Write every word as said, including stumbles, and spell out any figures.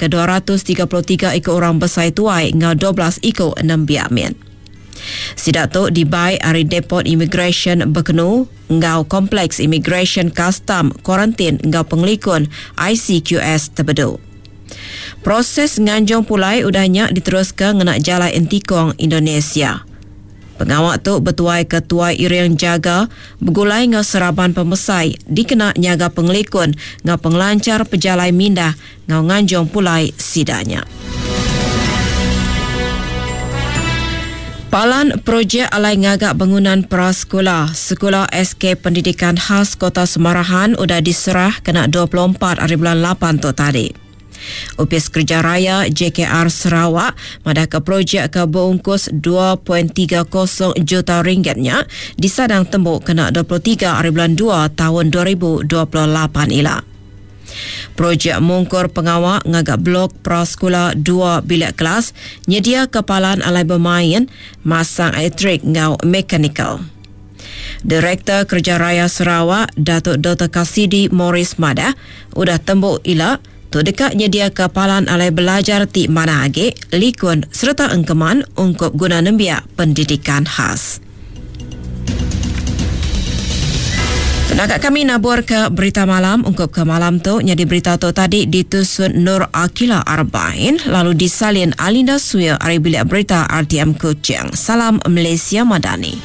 ke dua ratus tiga puluh tiga iku orang besai tuai enggau dua belas iku nembiak mit. Sida tu dibai ari Depot Immigration Bekenu enggau Kompleks Immigration Kastam Kuarantin enggau Pengelikun I C Q S Tebedu. Proses nganjung pulai udah nya diteruska ngena Jalai Entikong Indonesia. Pengawa tu betuai ke Tuai Iring Jaga begulai enggau seraban pemesai dikena nyaga pengelikun enggau pengelancar pejalai mindah enggau nganjung pulai sidanya. Palan projek alai ngaga bangunan prasekula Sekula S K Pendidikan Khas Kota Samarahan udah diserah kena dua puluh empat hari bulan lapan tu tadi. Opis Kerja Raya J K R Sarawak madah ke projek ke berungkus dua perpuluhan tiga kosong juta ringgitnya disadang tembuk kena dua puluh tiga hari bulan dua tahun dua ribu dua puluh lapan ila. Projek mungkur pengawa ngaga blok prasekula dua bilik kelas nyedia kepalan alai bermain, masang elektrik ngau mekanikal. Direktor Kerja Raya Sarawak Datuk Doktor Kasidi Morris madah udah tembuk ila tu dekat nyedia kepalan alai belajar ti mana agi, likun serta engkeman ungkup guna nembiak pendidikan khas. Tenaga kami nabur ke berita malam ungkup ke malam tu jadi berita tu tadi ditusun Nur Akila Arbain lalu disalin Alinda Suya ari bilik berita R T M Kuching. Salam Malaysia Madani.